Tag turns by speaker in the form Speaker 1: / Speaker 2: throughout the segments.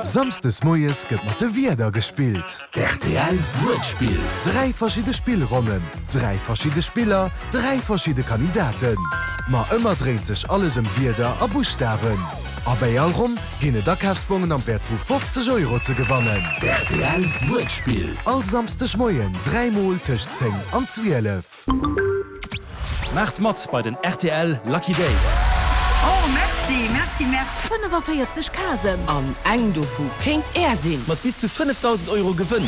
Speaker 1: Samsdes moies gëtt mat de Wierder gespillt.
Speaker 2: D'RTL Wuertspill.
Speaker 1: 3 verschidde Spillronnen, 3 verschidde Spiller, 3 verschidde Kandidaten. Ma ëmmer dréint sech alles ëm Wierder a Buschtawen. A bäi all Ronn ginn et Akafsbongen am Wäert vu 50 Euro ze gewannen.
Speaker 2: D'RTL Wuertspill.
Speaker 1: All Samsdeg Moien 3 mol tëscht 10 an 12.
Speaker 3: Maacht mat bei den rtl Lucky Days!
Speaker 4: Oh merci, merci, merci.
Speaker 5: 45 Casen.
Speaker 6: An eng dovu kéint Är sinn!
Speaker 3: Mat bis zu 5.000 Euro Gewënn!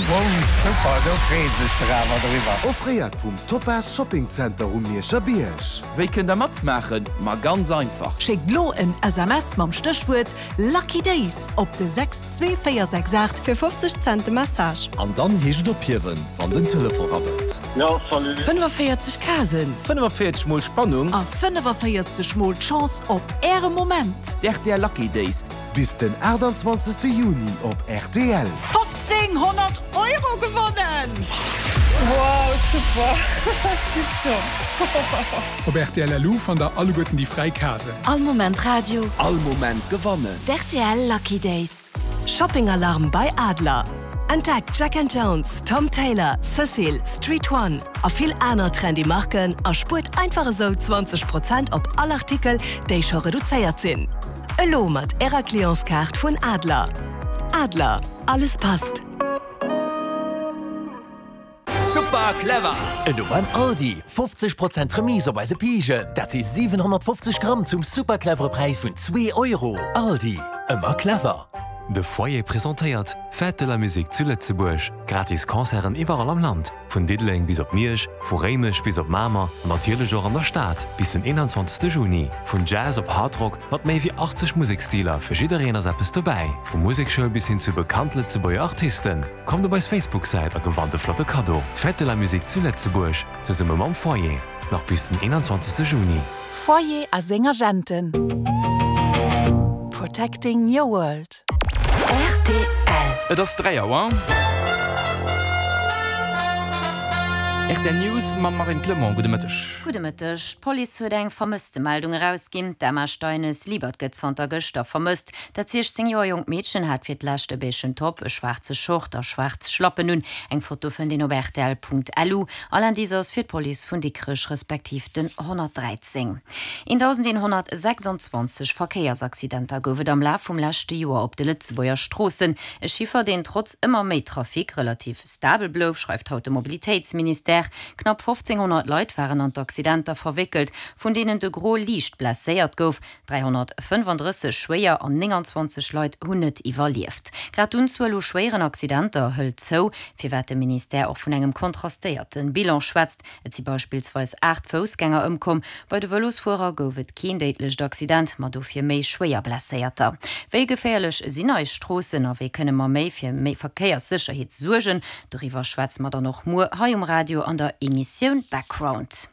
Speaker 7: Super, do freet sech der awer driwwer.
Speaker 1: Offréiert vum Topaz Shopping Center um Mierscher Bierg.
Speaker 3: Wéi kënnt der matmaachen? Ma ganz einfach!
Speaker 5: Schéckt lo en SMS mam Stéchwuert Lucky Days op de 62468.
Speaker 8: Fir 50 Cent de Message.
Speaker 2: An dann heescht et ophiewen, wann den Telefon rabbelt.
Speaker 7: Jo, salut.
Speaker 6: 45 Casen.
Speaker 3: 45 mol Spannung.
Speaker 5: A 45 mol d'Chance op Äre Moment.
Speaker 3: D'RTL Lucky Days.
Speaker 1: Bis den 28 Juni op rtl.
Speaker 4: 1500 Euro gewonnen! Wow, super! Tipptopp!
Speaker 9: Op rtl LU fannt der alleguerten déi fräi Casen.
Speaker 10: All Moment Radio.
Speaker 2: All Moment gewannen.
Speaker 10: D'RTL Lucky Days.
Speaker 11: Shopping Alarm bei Adler! Entdeckt Jack and Jones, Tom Tailor, Cecil, Street One a vill aner trendy Marken a spuert einfach esou 20 Prozent op all Artikel, déi scho reduzéiert sinn. Elo mat Ärer Clientskaart vun Adler. Adler, alles passt!
Speaker 12: Super clever!
Speaker 13: Elo beim Aldi, 50 Prozent Remise op eise Pijen, dat si 750 Gramm zum super clevere Präis vun zwee Euro. Aldi, ëmmer clever!
Speaker 14: De Foyer presentéiert Fête de la Musique zu Lëtzebuerg. Gratis Concerten iwwerall am Land, vun Diddeleng bis op Miersch, vu Réimech bis op Mamer an natierlech och an der Stad, bis den 21 Juni. Vun Jazz op Hardrock, mat méi wéi 80 Museksstiler, fir jiddereen ass eppes dobäi. Vu Musekschoul bis hin zu bekannt Lëtzebuerger Artisten. Kommt op eis Facebook-Säit a gewannt e flotte Kaddo. Fête de la Musique zu Lëtzebuerg, zesumme mam Foyer, nach bis den 21 Juni.
Speaker 15: Foyer a seng Agenten. Protecting your world.
Speaker 3: Rtl. Et ass 3 Auer. Rtl News mam Marine Clement. Gudde Mëtteg.
Speaker 16: Gudde Mëtteg. D'Police huet eng Vermësstemeldung erausginn. D'Emma Steines-Liebert gëtt zanter gëschter vermësst. Dat 16 Joer jonkt Meedchen hat fir d'lescht e beigen Top, e schwaarze Short a schwaarz Schlappen un. Eng Foto fënnt een op rtl.lu. All Indice ass fir d'Police vun Dikrech respektiv den 113. 1.126 Verkéiersaccidenter gouf et am Laf vum leschte Joer op de Lëtzebuerger Stroossen. E Chiffer, deen trotz ëmmer méi Trafic relativ stabel blouf, schreift haut de Mobilitéitsministère. Knapp 1.500 Leit waren an d'Accidenter verwéckelt, vun deenen de Gros liicht blesséiert gouf. 335 schwéier an 29 Leit hunn net iwwerlieft. Grad d'Unzuel u schwéieren Accidenter hëlt zou, firwat de Ministère och vun engem kontrastéierte Bilan schwätzt. Et si beispillsweis 8 Foussgänger ëmkomm. Bei de Vëlosfuerer gouf et keen déidlecht Accident, ma dofir méi schwéier Blesséierter. Wéi geféierlech sinn eis Stroossen a wéi kënne mer méi fir méi Verkéierssécherheet suergen? Doriwwer schwätze mer dann och muer hei um Radio an der Emissioun Background.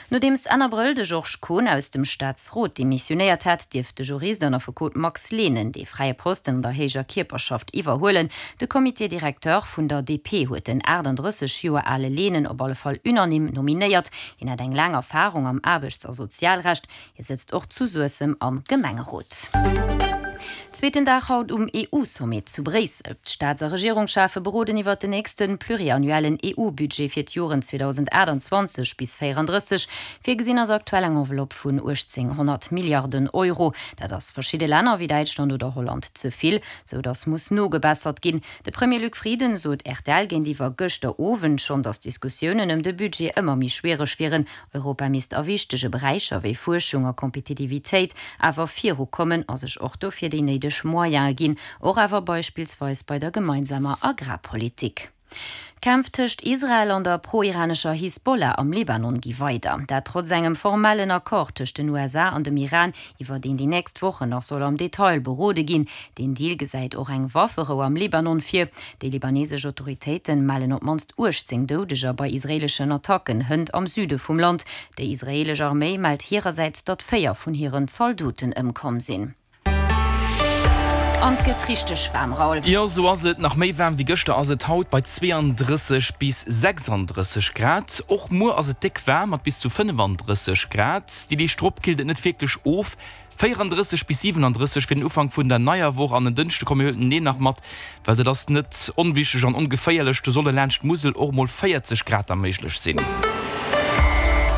Speaker 16: Nodeems Enn Abrëll de Georges Kohn aus dem Staatsrot demissionéiert hat, dierft de Jurist an Affekot Max Lehnen dee fräie Posten an der héijer Kierperschaft iwwerhuelen. De Comité directeur vun der DP huet den 38 Joer ale Lehnen op alle Fall unanime nominéiert. Hien hätt eng laang Erfarung am Aarbechts a Sozialrecht. Hie sëtzt och zu Suessem am Gemengerot. Zweeten Dag haut um EU-Sommet zu Bréissel. D'Staats a Regierungschefe beroden iwwert den nächste pluriannuellen EU-Budget fir d'Joren 2028 bis 34. Virgesinn ass aktuell eng Enveloppe vun 1.800 Milliarden Euro. Dat ass verschidde Länner wéi Däitschland oder Holland ze vill, sou datt muss nogebessert ginn. De Premier Luc Frieden sot rtl géintiwwer gëschter Owend schonn, datt d'Diskussiounen ëm de Budget ëmmer méi schwiereg wieren. Europa misst a wichtege Beräicher wéi Fuerschung a Kompetitivitéit awer viru kommen a sech och dofir déi néideg Moyene ginn, och awer beispillsweis bei der gemeinsamer Agrarpolitik. D'Kämpf tëscht Israel an der pro-iranescher Hisbollah am Libanon gi weider. Dat trotz engem formellen Accord tëscht den USA an dem Iran, iwwer deen déi nächst Wochen nach soll am Detail berode ginn. Deen Deal gesäit och eng Wafferou am Libanon vir. Déi libanesesch Autoritéite mellen op d'mannst 18 Doudeger bei israeeleschen Attacken hënt am Süde vum Land. Déi israeelesch Arméi mellt hirersäits, datt 4 vun hiren Zaldoten ëmkomm sinn. An 't gëtt richteg waarm, Raoul.
Speaker 3: Jo, sou ass et. Nach méi waarm wéi gëschter ass et haut bei 32 bis 36 Grad. Och muer ass et déck waarm mat bis zu 35 Grad. Déi Deeg drop killt et net wierklech of. 34 bis 37 fir den Ufank vun der neier Woch an en Dënschde komme mir huelen deen nach mat, well dat ass net onwichteg an ongeféierlech, do solle laanscht d'Musel och mol 40 Grad da méiglech sinn.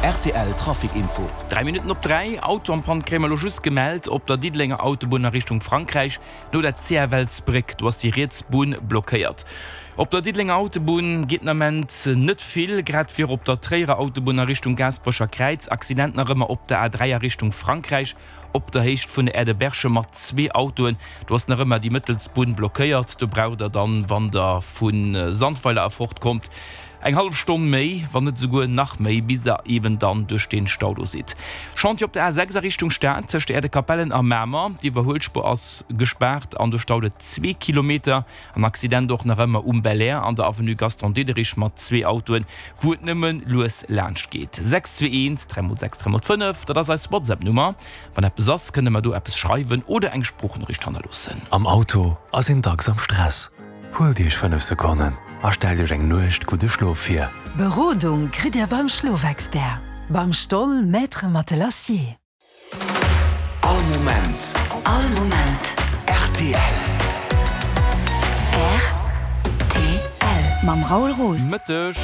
Speaker 2: Rtl Trafic Info.
Speaker 3: 3 Minutten op 3, Auto am Panne kréie mer elo just gemellt op der Diddelenger Autobunn a Richtung Frankräich no der CFL-Sbréck. Do ass déi riets Bunn blockéiert. Op der Diddelenger Autobunn geet den Ament net vill, grad wéi och op der Tréierer Autobunn a Richtung Gaasperecher Kräiz. Accident nach ëmmer op der A3 a Richtung Frankräich op der Héicht vun der Aire de Berchem mat zwee Autoen. Do ass nach ëmmer déi mëttelst Bunn blockéiert. Do braucht der dann, wann der vu Sandweiler erfort kommt, eng hallef Stonn méi, wann net esouguer nach méi, bis der eben dann duerch dee Stau do sidd. Chantier op der A6 a Richtung Stad tëscht der Aire de Capellen a Mamer. D'Iwwerhuelspuer ass gespaart an do staut et zwee Kilometer. An Accident och nach ëmmer um Belair an der Avenue Gaston Diderich mat zwee Autoen, wou et nëmme lues laanscht geet. 6 2 1 3 mol 6 3 mol 5, dat ass eis WhatsApp-Nummer. Wann eppes ass, kënnt der mer do eppes schreiwen oder eng Sproochnoriicht hannerloossen.
Speaker 14: Am Auto ass een dacks am Stress. Huelt Iech 5 Sekonnen a stellt Iech eng Nuecht gudde Schlof vir.
Speaker 5: Berodung kritt Dir beim Schlofexpert, beim Stoll Maître Matelassier.
Speaker 2: All Moment.
Speaker 10: All Moment.
Speaker 2: Rtl.
Speaker 10: Rtl. Mam Raoul Roos.
Speaker 3: Mëtteg.